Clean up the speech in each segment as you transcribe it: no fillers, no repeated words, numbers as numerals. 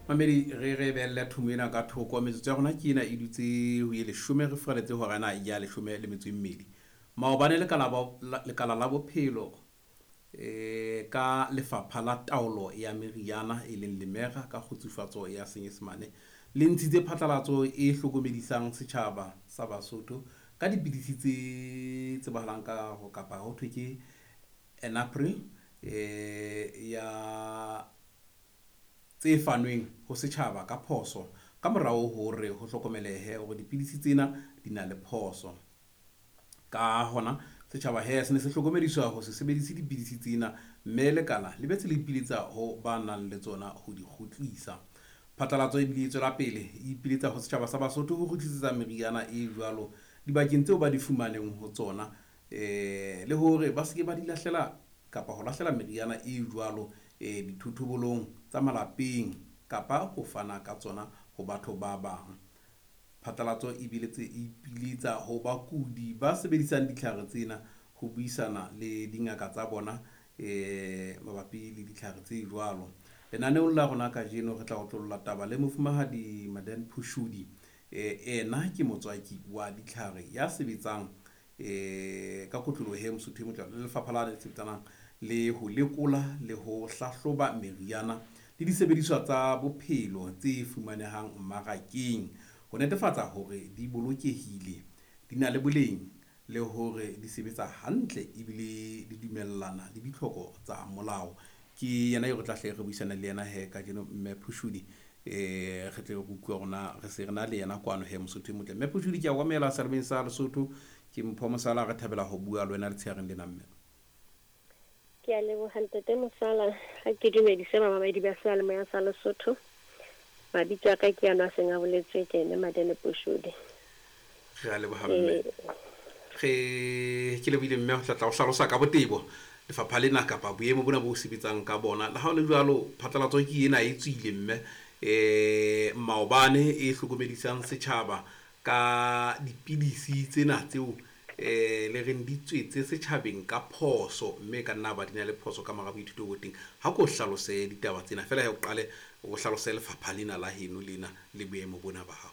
Mamedi, re re behelle thomo ena ka thoko. Metsotso ya rona ke ena e dutse ho ye 10, re furaletse hora ena ya 12. Maobane lekala la bophelo ka lefapha la taolo ya meriana e leng Lemera ka kgutsufatso ya Senyesemane le ntshitse phatlalatso e hlokomedisang setjhaba sa Basotho ka dipidisi tse tsebahalang ka ho kapa ho thwe ke Enapril ya tse fanweng ho setjhaba ka phoso ka morao hore ho hlokomelehe hore dipidisi tsena di na le phoso. Ka hona setjhaba he se ne se hlokomediswa ho se sebedise dipidisi tsena, mme lekala le betse le ipiletsa ho ba nang le tsona ho di kgutlisa. Phatlalatso ebile e tswela pele e ipiletsa ho setjhaba sa Basotho ho kgutlisetsa meriana e jwalo dibakeng tseo ba di fumaneng ho tsona, le hore ba seke ba di lahlela kapa ho lahlela meriana e jwalo dithothobolong tsa malapeng kapa ho fana ka tsona ho batho ba bang. Phatlalatso ebile tse ipiletsa ho bakudi ba sebedisang ditlhare tsena ho buisana le dingaka tsa bona mabapi le ditlhare tse jwalo. Lenaneong la rona kajeno re tla otlolla taba le mofumahadi Madan Phushudi. Ena ke motswaki wa ditlhare ya sebetsang ka kotloloho he Mosotho e motle le lefapha la le sebetsanang le ho lekola le ho hlahloba meriana le disebediswa tsa bophelo tse fumanehang mmarakeng ho netefatsa hore di bolokehile, di na le boleng le hore di sebetsa hantle ebile di dumellana le ditlhoko tsa molao. Ke yena eo re tla hle re buisana le yena he kajeno, mme Phushudi. Re tle re utlwe rona re se re na le yena kwano he Mosotho e motle. Mme Phushudi, ke a o amohela selemeng sa Lesotho. Ke Mpho Mosala, re thabela ho bua le wena letshehareng lena mme. Ke a leboha ntate Mosala, ha ke dumedise bamamedi ba seyalemoya sa Lesotho. Mabitso a ka ke ano a seng a boletswe ke ene Madene Phushudi. Re a leboha mme. Re ke lebohile mme ho tla tla o hlalosa ka botebo lefapha lena kapa boemo bona bo sebetsang ka bona. Le ha ho le jwalo, phatlalatso ke ena e tswile mme maobane e hlokomedisang setjhaba ka dipidisi tsena tseo le reng di tswetse setjhabeng ka phoso, mme ka nna ba di na le phoso ka mora boithuto bo teng. Ha ko hlalose ditaba tsena fela, he o qale o hlalose lefapha lena la heno lena le boemo bona ba hao.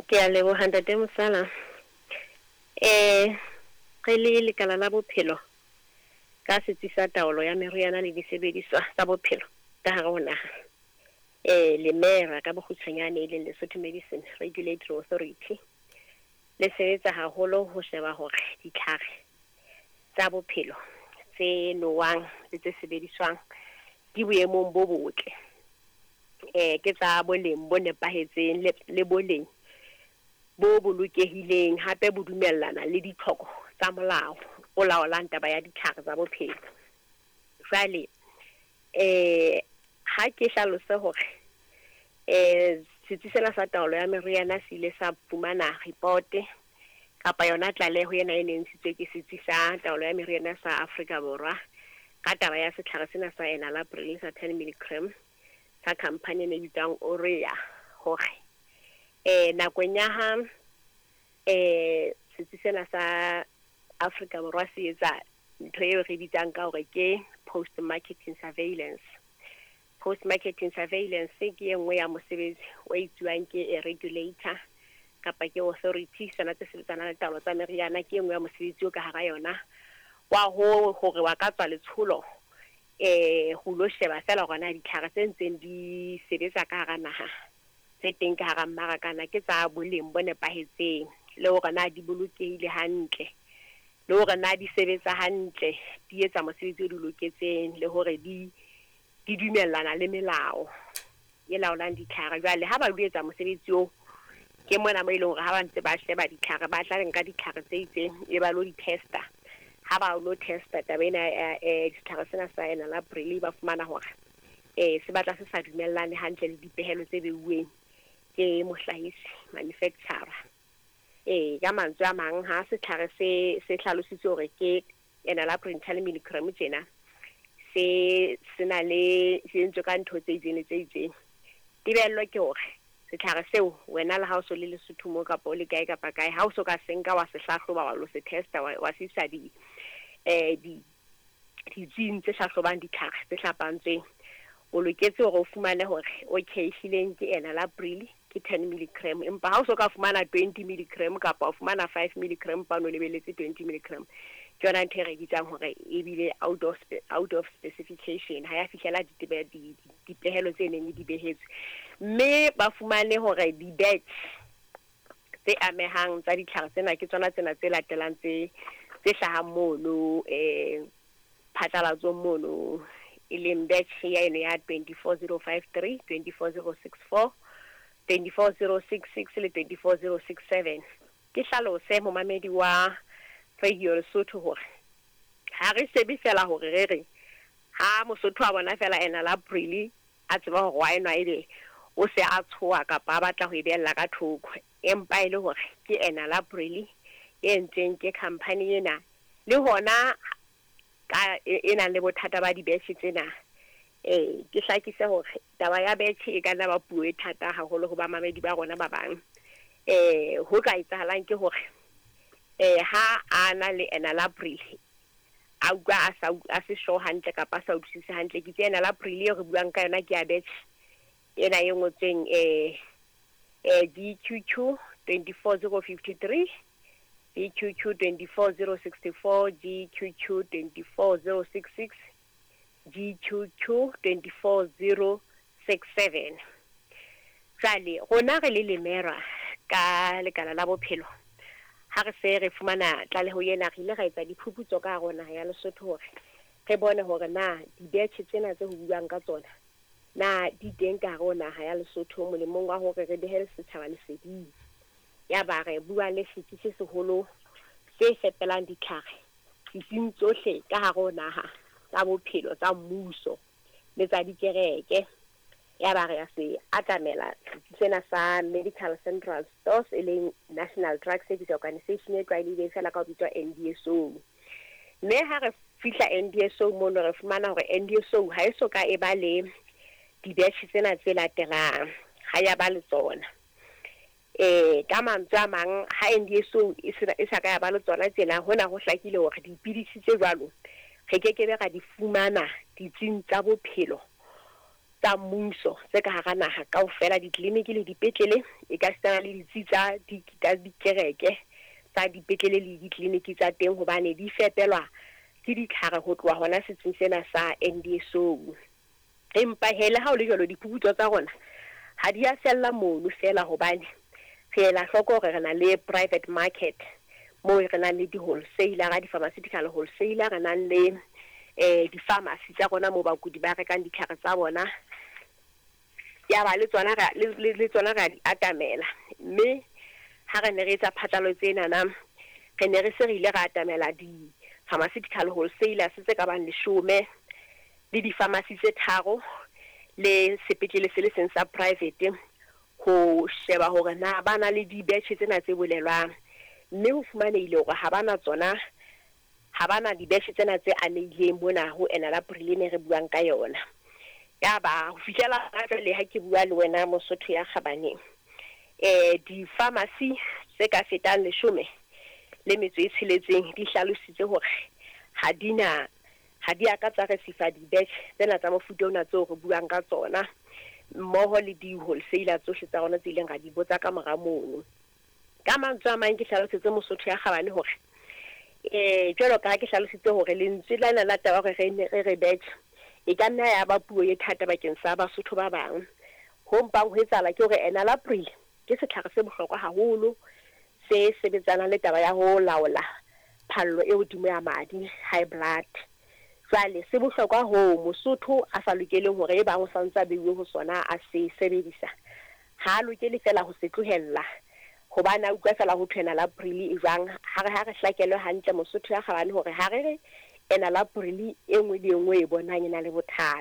Ke a leboha ntate Mosala. Re le lekala la bophelo ka setsi sa taolo ya meriana le disebediswa tsa bophelo ka hare ho naha, Lemera ka bokgutshwanyane e leng Lesotho Medicine Regulatory Authority, le sebetsa haholo ho sheba hore ditlhare tsa bophelo tse nowang le tse sebediswang di boemong bo botle, ke tsa boleng bo nepahetseng le boleng bo bolokehileng, hape bo dumellana le ditlhoko tsa molao o laolang taba ya ditlhare tsa bophelo. Jwale ha ke hlalose hore setsi sena sa taolo ya meriana se ile sa fumana report kapa yona tlaleho ena e neng ntshitswe ke setsi sa taolo ya meriana sa Afrika Borwa ka taba ya setlhare sena sa Enalapril sa 10 milligram sa company e ne bitswang Orea, hore nakong ya ha setsi sena sa Afrika Borwa se etsa ntho eo re bitsang ka hore ke post marketing surveillance. Post marketing surveillance ke e nngwe ya mosebetsi o etsuwang ke a regulator kapa ke authority sena tse sebetsanang le taolo tsa meriana. Ke e nngwe ya mosebetsi o ka hara yona wa ho hore wa ka tswa letsholo ho lo sheba fela hore na ditlhare tse ntseng di sebetsa ka hara naha tse teng ka hara mmaraka na ke tsa boleng bo nepahetseng, le hore na di bolokehile hantle, le hore na di sebetsa hantle, di etsa mosebetsi o di loketseng, le hore di dumellana le melao e laolang ditlhare. Jwale ha ba lo etsa mosebetsi oo, ke mona mo e leng hore ha ba ntse ba sheba ditlhare, ba tla nka ditlhare tse itseng e ba lo di-testa. Ha ba lo testa taba ena ya setlhare sena sa Enalapril, ba fumana hore se batla se sa dumellane hantle le dipehelo tse beuweng ke mohlahisi, manufacturer. Ka mantswe a mang, ha setlhare se hlalositswe hore ke Enalapril 10 milligram tjena, se sena le se entswe ka ntho tse itseng le tse itseng, tebello ke hore setlhare seo wena le ha o so le Lesotho mo kapa o le kae kapa kae, ha o so ka se nka wa se hlahloba wa lo se testa wa se isa ditsing tse hlahlobang ditlhare tse hlapantsweng, O loketse hore o fumane hore okay ehlileng ke enalapril ke 10 milligram, empa ha o so ka fumana 20 milligram kapa o fumana 5 milligram pa no lebeletse 20 milligram, ke yona ntho e re bitsang hore ebile out of specification, ha ya fihlela dipehelo tse neng di behetswe. Mme ba fumane hore di-batch tse amehang tsa ditlhare tsena ke tsona tsena tse latelang tse hlahang mono phatlalatsong mono, e leng batch ya eno ya 24053, 24064, 24066 le 24067. Ke hlalose momamedi wa Radio Lesotho hore ha re shebe fela hore re re ha Mosotho a bona fela enalapril a tseba hore wa enwa, ebe o se a tshoha kapa a batla ho e behella ka thoko, empa e le hore ke enalapril e entsweng ke company ena le hona ka e nang le bothata ba di-batch tsena. Ke hlakise hore taba ya batch e ka nna ba puo e thata haholo ho bamamedi ba rona ba bang. Ho ka etsahalang ke hore ha a na le enalapril a utlwa a sa a se sure hantle kapa a sa utlwisise hantle, ke itse enalapril e re buang ka yona ke ya batch ena e ngotsweng GQQ 24053, GQQ 24064, GQQ 24066, GQQ 24067. Jwale rona re le Lemera ka lekala la bophelo, ha re se re fumana tlaleho ena, re ile ra etsa diphuputso ka hare ho naha ya Lesotho hore re bone hore na di-batch tsena tse ho buang ka tsona na di teng ka hare ho naha ya Lesotho, molemong wa hore re behe setjhaba leseding. Ya ba re bua le setsi se seholo se fepelang ditlhare ditsing tsohle ka hare ho naha tsa bophelo tsa mmuso le tsa dikereke. Ya ba re ya se atamela setsi sena sa Medical Central Stores, e leng National Drug Service Organisation e tlwaelehileng fela ka ho bitswa NDSO. Mme ha re fihla NDSO mono, re fumana hore NDSO ha e so ka e ba le di-batch tsena tse latelang, ha ya ba le tsona. Ka mantswe a mang, ha NDSO e sa ka ya ba le tsona tsena, hona ho hlakile hore dipidisi tse jwalo re kekebe ra di fumana ditsing tsa bophelo tsa mmuso tse ka hara naha kaofela, ditleliniki le dipetlele, e ka sitana le ditsi tsa dikereke tsa dipetlele le ditleliniki tsa teng, hobane di fepelwa ke ditlhare ho tloha hona setsing sena sa NDSO. Empa he, le ha o le jwalo, diphuputso tsa rona ha di a fella mono fela, hobane re ela hloko hore re na le private market moo re nang le di-wholesaler, di-pharmaceutical wholesaler, re nang le di-pharmacy tsa rona moo bakudi ba rekang ditlhare tsa bona. Ya ba le tsona le tsona re a di atamela. Mme ha re ne re etsa phatlalatso enana, re ne re se re ile ra atamela di-pharmaceutical wholesalers tse ka bang 10 le di-pharmacy tse tharo le sepetlele se le seng sa private, ho sheba hore na ba na le di-batch tsena tse bolelwang. Mme ho fumanehile hore ha ba na tsona, ha ba na di-batch tsena tse amehileng mona ho enalapril ne re buang ka yona. Ya ba ho fihlela jwale ha ke bua le wena, Mosotho ya kgabaneng, di-pharmacy tse ka fetang 16 di hlalositse hore ha di a ka tsa receive di-batch tsena tsa mofuta ona tseo re buang ka tsona, mmoho le di-wholesaler tsohle tsa rona tse ileng ra di botsa ka mora mono. Ka mantswe a mang, ke hlalosetse Mosotho ya kgabane hore jwalo ka ha ke hlalositse hore lentswe lena la taba hore re ne re re batch e ka nna ya ba puo e thata bakeng sa Basotho ba bang, ho mpang ho etsahala ke hore enalapril ke setlhare se bohlokwa haholo se sebetsanang le taba ya ho laola phallo e hodimo ya madi, high blood. Jwale se bohlokwa hoo Mosotho a sa lokeleng hore e bang o santse a beuwe ho sona a se sebedisa, ha a lokele fela ho se tlohella hobane a utlwa fela ho thwe enalapril e jwang. Ha re hlakelwe hantle, Mosotho ya kgabane, hore ha re re enalapril e nngwe le e nngwe e bonang e na le bothata.